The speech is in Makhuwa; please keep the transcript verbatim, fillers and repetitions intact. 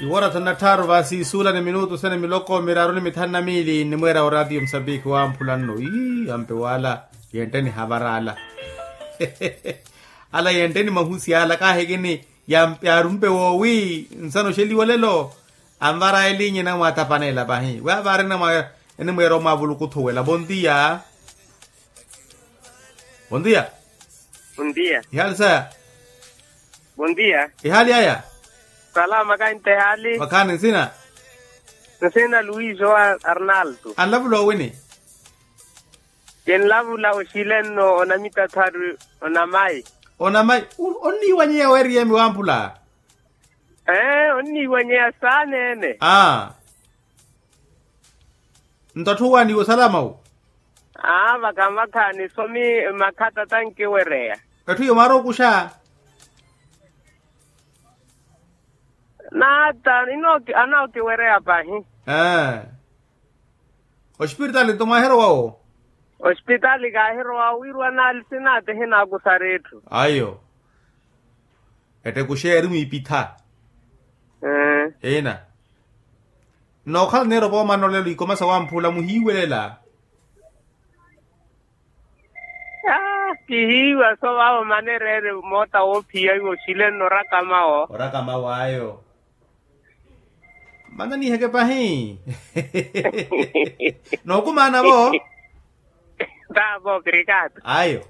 Iwora thanu na tthaaru vaasi suula ni minutu sene miloko miraaru ni mithanu na miili nnimweera oraatiyo musambiki wamphula nno ii ampe waala. Yentte nihavara ala. Ala yentte ni mahusi ala kaahikini. Yaarumpe woowi nsana oxeliwa olelo. Anvara eliinye enamwaatapaneela pahi we avaari enamwa enimweera omwaavulukuthuwela bontiya. Bontiya. Bontiya. Ihaali saya. Bontiya. Ihaali aya. Salama kainta ihaali. Vakhaani nsina. Nsina luiso arnaldo. Anlavula owini. Kinlavula oxile nno onamitatharu. Onamayi. Onamayi. Onniiwanyeya weeriyemi wamphula. Ee onniiwanyeya saaneene. Aa. Nto atthu owaaniwa osalama wu. Aa vakha vakha nisomi. Makhatta tankiwereya. Etthu iyo mwaari okuxa. Nata inooki anookiwereya pahi. Ee. Ospiritaali nto mwaahirowa wo. Ospitaali kaahirowa wiirwa naali sinaati hinaakusari etthu. Ayo. Ettekuxeya eri mwiipitha. Ina. Nookhala neeropa omana olelo ikoma sa wamphula muhiiwelela. Kihiiwa so vaavo manereere moota woophiya iwo oxile nno orakamawo. Orakamawo ayo. Mana niiheke pahi. Nookumaana vo. Taavo obrigado. Ayo.